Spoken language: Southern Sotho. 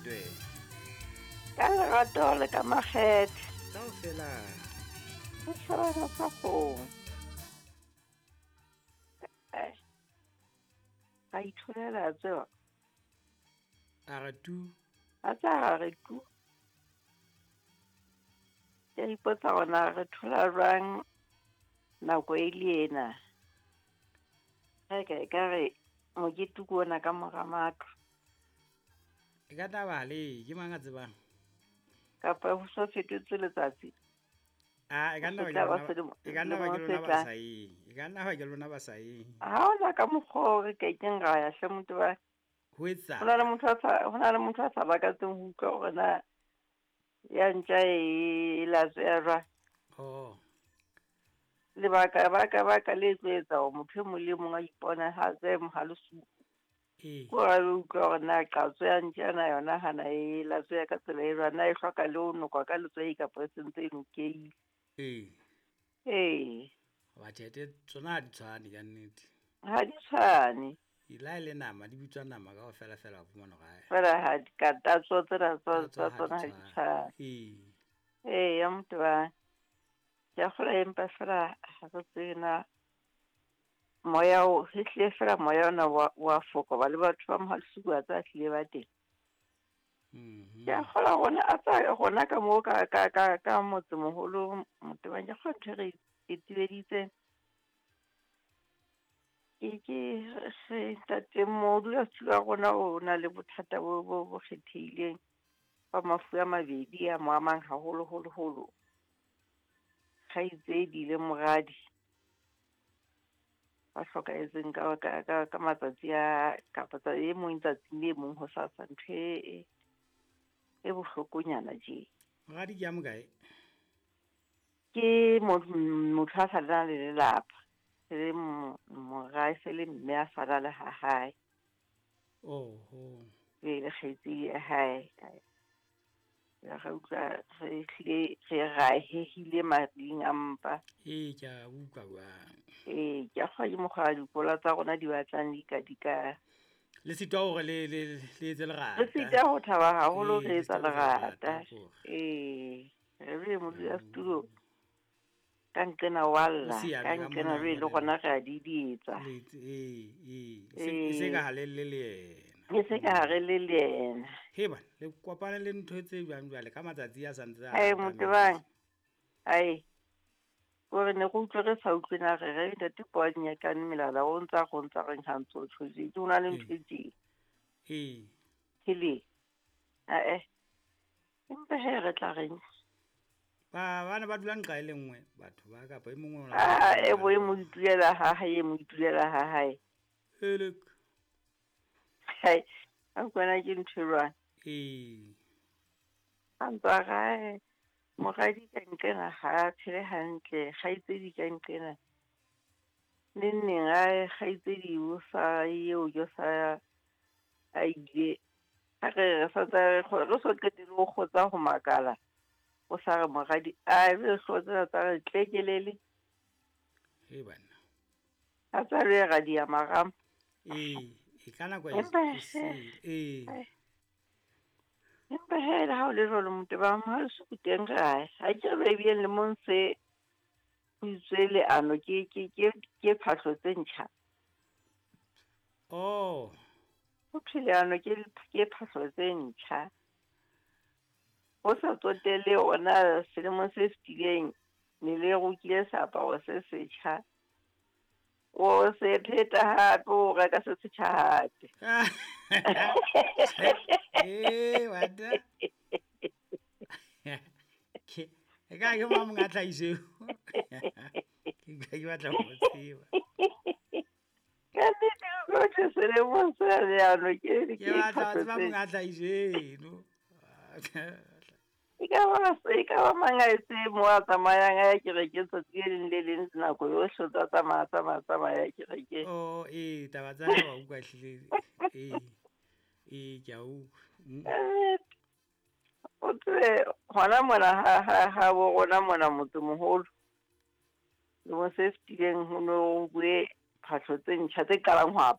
Fetwe. Ka lerato le ka makgethe. Kaofela. Setjhabana sa kgomo. Ra itholela tseba. A re tu. A tsa ra re tu. Ke a ipotsa hore na re thola jwang nako e le ena. Re ka re mokete ke ona ka mora matlo. E ka taba le ke mang a tsebang? Kapa ho so fetotse letsatsi. A e ka nna ba ke e ka nna ba ke lona ba sa yeng. E ka nna ba ke lona ba sa yeng. Ha ona ka mokgwa o re ke keng ra ya hle motho ba. Ho etsa. Ho na le motho a sa ho na le motho a sa lakatseng ho utlwa hore na ya ntja e latsweha jwang. Oh. Lebaka baka baka le tlo etsa hore motho e mong le mong a iponahatse mohalesuku. Ee. Ko ra utlwa hore na qatso ya ntja na yona hana e latsweha ka tsela e jwang, na e hloka le ho nokwa ka letswai kapa e sentse e nokehile. Ee. Ee. Hoba tjhelete tsona ha di tshwane ka nnete. Ha di tshwane. La e le nama di bitswa nama kaofela fela wa fumana hore ae. Fela ha di ka tatso tsena tsa Tatso ha tsona di ha di tshwane. tshwane. Ee. Ee, ya motho ba. Ke a kgolwa empa fela ha re tsebe na moya o ehlile fela moya ona wa foka hoba le batho ba Mohalesuku wa tseba hlile ba teng. Ke a kgolwa rona a tsa rona ka moo ka ka ka ka motsemoholo Motebang ke kgolwa ntho e re e tibeditse. Ke ke re ntate modulasetulo wa rona o na le bothata bo bo bo kgethehileng ba mafu a mabedi a mo amang haholo holo holo. Kgaitsedi le moradi ba hlokahetseng ka ka ka ka matsatsi a kapa tsa e mong tsatsing le mong hosasa ntho e e bohlokonyana tje. Moradi ke ya mokae? Ke motho a sa na le lelapa. Le mora se le mme a sala le ha hae. Oho. Le kgaitsedi ya hae. Re utlwa re hlile re rahehile mading a mpa. Ee, ke a utlwa jwang. Ee, ke a kgolwa ke mokgwa wa dikola tsa rona di batlang di ka di ka. Le sitwa hore le le le etse lerata. Re sitwa ho thaba haholo Ee, re le etsa sitwa ho etsa lerata. lerata. Ee, re le modulasetulo ka nqena wa lla, O siame ka ka nqena mona jwale le jwale. rona re a didietsa. Le ee, ee, e se ka ha le le le yena. E se ka ha re le le yena. He bana, le kopane le ntho tse jwang jwale ka matsatsi a santse a Ai atametse. Motebang. Ai. Hore ne re utlwe re sa utlwe na re re ntate Paul Nyakane melala o ntsa go ntsa reng ha ntso tjho tje. Ke ona le ntho e tje. Ee. Hele. Ae. Empa he re tla reng? Ba bana ba dula nqa e le nngwe batho ba kapa e mongwe o na Ah, e bo e mo itulela ha hae, e mo itulela ha hae. Elek. Hai, a kwana ke ntho e jwang? Ee. A ntsa rae. Moradi ka nqena ha a phele hantle, kgaitsedi ka nqena. Neng neng a kgaitsedi o sa eo jo sa a ile. Ha re re sa tsa re so qetelle ho kgotsa ho makala. O sa re moradi a be hlotsa tsa re tlekelele. He bana. A tsa re ra di marama. Ee, e ka nako e Empa ee. Empa he le ha o le jwalo motho ba Mohalesuku teng re ae. Ha ke re ebile lemong se ho itswe leano ke ke ke ke phahlo tse ntjha. Oh. Ho thwe leano ke ke phahlo tse ntjha. Ho sa tsotelle ona selemong se fetileng ne le rokile seaparo se setjha. O se pheta hape o reka se setjha hape. Ee, wata. Ke e ka ke mang a tlhahiso eo? Ke ke batla ho tseba. Ka nnete o thwe selemong sena leano ke Ke batla ho phahlo tseba tse monga tlhahiso eno. E ka ba mang a etse mo a tsamayang a ya kerekeng tsatsi le leng le leng nako yohle o tsa tsamaya tsamaya tsamaya ya kerekeng. Oh, ee, taba tsa hae wa utlwa ehlile. Ee. Ee, ke a utlwa. O tsebe hona mona ha ha ha bo rona mona motsemoholo. Lemong se fetileng ho no bue phahlo tse ntjha tse qalang ho